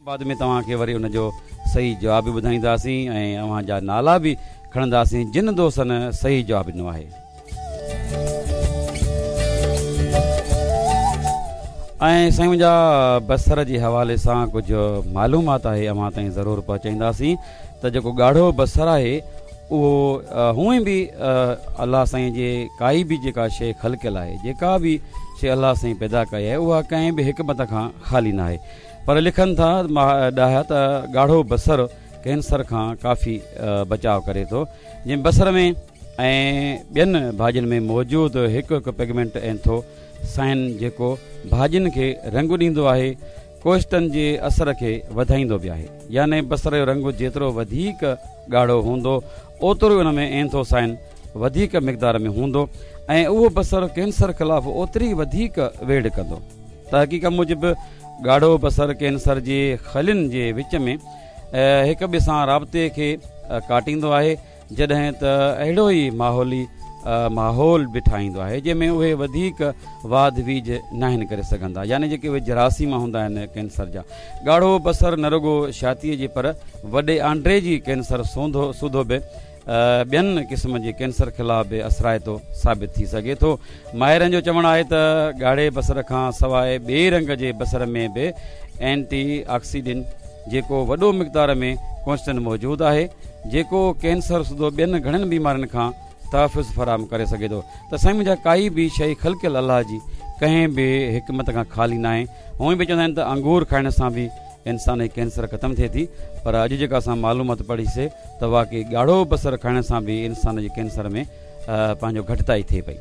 بعد ۾ توهان کي وري ان جو صحيح جواب به ٻڌائينداسين ۽ اوهان جا نالا به کڻنداسين جن دوستن صحيح جواب ڏنو آهي. ۽ سائين منهنجا بصر جي حوالي سان ڪجهه معلومات آهي اوهان تائين ضرور پهچائينداسين ته جيڪو ڳاڙهو بصر آهي اهو هونئن به الله سائين جي ڪائي به جيڪا شيء خلقيل آهي جيڪا به شيء الله سائين پيدا ڪئي آهي اها ڪنهن به حڪمت کان خالي ناهي پر لکن ٿا ڏاها ته ڳاڙهو بصر ڪينسر کان ڪافي بچاء ڪري ٿو جنهن بصر ۾ ۽ ٻين ڀاڄين ۾ موجود هڪ هڪ پگمينٽ اينٿو سائن جيڪو ڀاڄين کي رنگ ڏيندو آهي ڪوئسٽن جي اثر کي وڌائيندو به آهي يعني بصر جو رنگ جيترو وڌيڪ ڳاڙهو هوندو اوترو ان ۾ اينٿو سائن وڌيڪ مقدار ۾ هوندو ۽ اهو بصر ڪينسر خلاف اوتري وڌيڪ ويڙهه ڪندو. تحقيق موجب ڳاڙهو بصر ڪينسر جي خلين جي وچ ۾ هڪ ٻئي سان رابطي کي ڪاٽيندو آهي جڏهن ته اهڙو ئي ماحولي ماحول به ٺاهيندو آهي جنهن ۾ اهي وڌيڪ واڌ ويجهه ناهن ڪري سگهندا يعني جيڪي اهي جراثيم هوندا آهن ڪينسر جا. ڳاڙهو بصر نه رڳو ڇاتيء جي پر وڏي آنڊري جي ڪينسر سوڌو به ٻين قسم جي ڪينسر خلاف به اثرائتو ثابت ٿي سگهي ٿو. ماهرن جو چوڻ آهي ته ڳاڙهي بصر کان سواء ٻئي رنگ جي بصر ۾ به اينٽي آڪسيڊنٽ جيڪو وڏو مقدار ۾ ڪوئسٽن موجود آهي جيڪو ڪينسر سوڌو ٻين گهڻن بيمارين کان تحفظ فراهم ڪري سگهي ٿو ته سائين منهنجا ڪائي به شيء خلقيل الله جي ڪنهن به حڪمت کان خالي ناهي هونئن به چوندا آهن ته انگور کائڻ سان به انسان جي ڪينسر ختم ٿئي ٿي پر اڄ جيڪا اسان معلومات پڙهي سي ته واقعي ڳاڙهو بصر کائڻ سان به انسان جي ڪينسر ۾ پنهنجو گهٽتائي ٿئي پئي.